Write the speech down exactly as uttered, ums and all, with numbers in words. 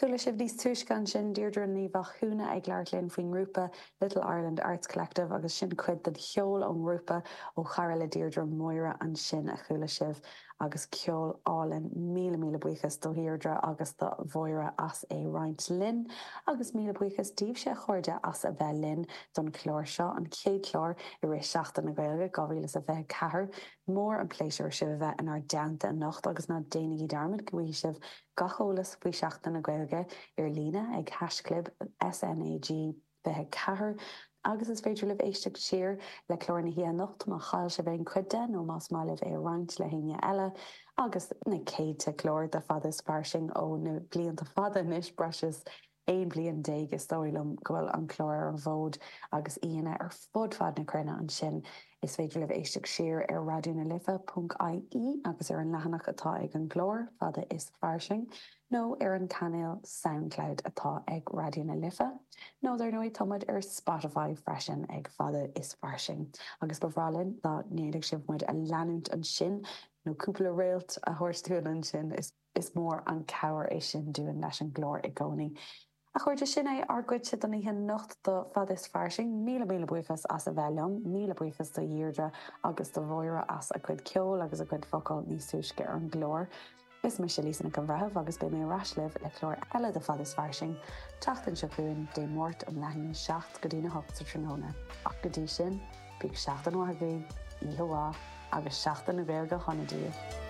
Chuala sibh níos túisce ansin Deirdre Ní Mhathúna ag labhairt linn faoin ngrúpa Little Ireland Arts Collective agus sin cuid den cheol ón ngrúpa ó chara le Deirdre Máire ansin a chuala sibh agus ceol álainn míle míle buíochas do Dheirdre agus do Mháire as é roinnt linn agus míle buíochas daoibhse a chairde as a bheith linn don chlár seo an chéad chlár i rith Seachtain na Gaeilge dhá mhíle is a fiche ceathair. Mór an pléisiúr sibh a bheith inár dteannta anocht agus ná déanaigí dearmad go bhfaighidh sibh gach eolas faoi Seachtain na Gaeilge ar líne ag haischlib SNAG fiche ceathair agus is féidir libh éisteacht siar le clár na hoíche anocht má chaill sibh aon chuid de nó más maith libh é a roinnt le héinne eile agus na céadta clár de Fada is Fairsing ó na blianta fada anois breis is aon bhliain déag is dóigh liom go bhfuil an clár ar an bhfód agus aíonna ar fud fad na cruinne ansin. Is féidir libh éisteacht siar ar Raidió na Life ponc IE agus ar an leathanach atá ag an gclár Fada is Fairsing nó ar an cainéal Soundcloud atá ag Raidió na Life. Nó dar ndóigh tá muid ar Spotify freisin ag Fada is Fairsing. Agus ba bhreá linn dá ndéanfadh sibh muid a leanúint ansin nó cúpla réalt a thabhairt dúinn ansin is is mór an cabhair é sin dúinn leis an gclár i gcónaí. A chairde sin é ár gcuidse don oíche anocht do Fada is Fairsing, míle míle buíochas as a bheith liom, míle buíochas do Dheirdre agus do Mháire as a gcuid ceoil agus a gcuid focal níos túisce ar an gclár. Is mise Lisa Nic an Bhreithimh agus beidh mé ar ais libh le clár eile de Fada is Fairsing, tseachtain seo chugainn Dé Máirt um leath i ndiaidh a seacht go dtína hocht sa tráthnóna. Ach go dtí sin, bíodh seachtain mhaith agaibh, oíche mhaith agus Seachtain na Gaeilge shona daoibh.